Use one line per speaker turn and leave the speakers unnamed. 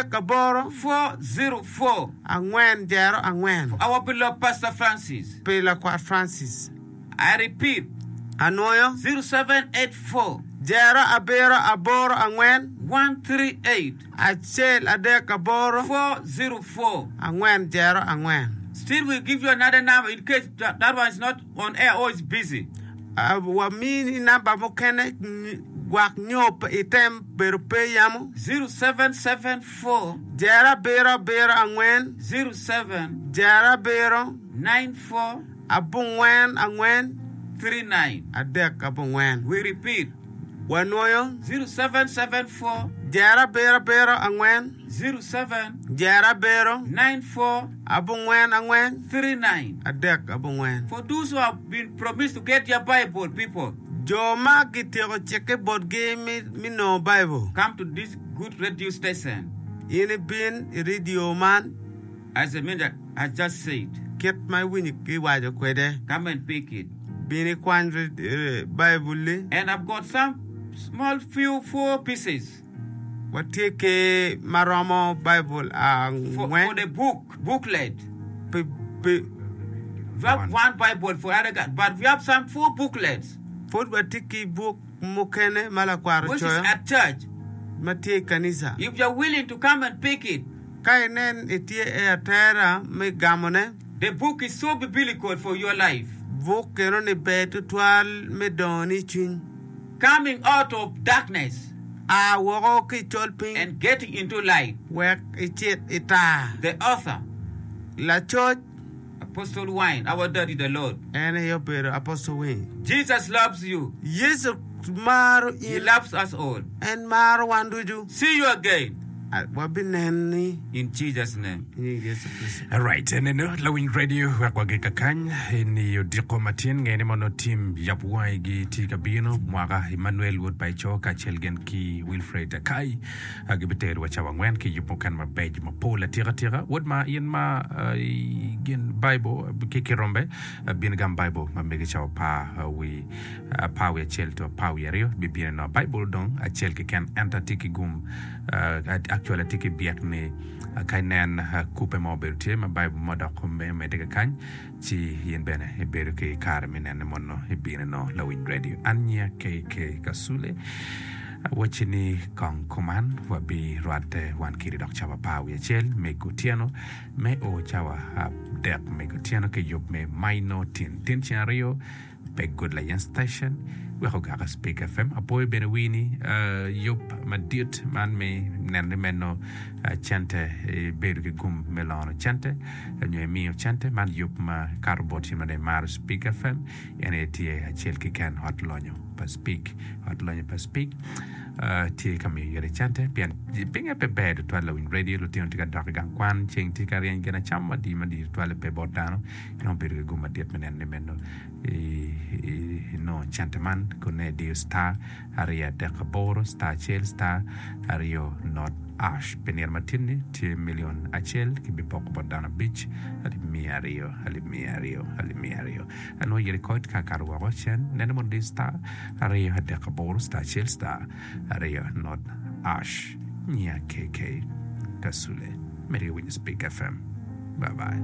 Aboro.
404.
404.
For our beloved Pastor Francis.
Pi Lakwat Francis.
I repeat.
Anwoyo.
0784.
0784.
138.
138.
404.
404.
Still we give you another number in case that, that one is not on air or is busy.
Wamini namba mukene gwak nyo item bedo pe yamo.
0774.
0774.
07.
07.
94.
94.
39.
34.
We repeat.
Wanwoyo.
0774.
0774.
07.
07.
94.
44.
39.
34.
For those who have been promised to get their Bible, people.
Jo ma gityeko cikke botgi me nongo Baibul.
Come to this good radio station.
In ibin i redio man.
As the minister has just said.
Kit ma iwinyo giwaco kwede.
Come and pick it.
Bin ikwany Baibul-li.
And I've got some small few four pieces.
Watye ki ma romo Baibul angwen.
For the book, booklet.
Pi, pi.
We have one Bible for other guy, but we have some four booklets.
Pud watye ki buk mukene ma lakwaro
Which is
coyo
at church.
ma tye i kanisa.
If you are willing to come and pick it.
Ka inen itye i atera me gamone.
The book is so biblical for your life.
Buk eno-ni ber tutwal me dongoni i cwiny.
Coming out of darkness.
A woko ki i colpiny.
And getting into light.
Wek icit i tar.
The author.
Lacoc.
Apostle Wayne, our daddy the Lord.
En aye obedo Apostle Wayne.
Jesus loves you.
Yecu maro in.
He loves us all.
En maro wan ducu.
See you again.
Wabineni.
In Jesus name.
I nying Yecu Kricito.
Alright, eneno lawiny radio wek wagi kakany eni odiko matin nge ni mono tim yab wangi gi tye ka bino mwaka Emmanuel wod pa Eco kacel gin ki Wilfred Akai gibitero wa cawa angwen ki yub mukene mabeco mapol atika tika wod ma in ma gin Bible ki kirombe bin gam Bible ma megi cawa apar wi apar wiye acel to apar wiye aryo bibino nongo Baibul dong acel keken ento atye ki gum actually atye ki byek ni ka inen kubbe mo obedo tye ma Baibul mo dok omedde kakany ci in bene ibedo ki kare me nene mono ibino nongo lawiny radio. An nyinga KK Kasule awacci ni kong kuman wabirwatte wan kidi dok cawa apar wiye acel me kutyeno me o cawa adek me kutyeno ki yub me Maino Tin Tin ceng aryo Pe Good Layen Station wek ogaka Speak FM. Apoyo bene wi ni yub madit man me neno ni meno cente ibedo ki gum me lono cente nyo imiyo cente man yub ma kato bot in ma dong imaro Speak FM en aye tye acel keken ot lonyo pa Speak. Ot lonyo pa Speak tye ka miyo ite cente pien pinge pe ber tutwal lawiny radio lutino tye ka dok i gang kwan ceng tye ka ryeny gin acama madit madit tutwal pe bot dano Inongo bedo ki gum madit me neno ni meno inongo cente man kun nongo idiyo star 238 star acel star aryo not ash. Pi nino matin-ni tye milion acel kibipoko bot dano abic, alip 200, alip 200, alip 200. Anongo i rekod ka akato woko cen nene mondo idiyo star 238 star acel star aryo not ash. Nyiya KK Kasule. Medde ki winyo Speak FM. Bye bye.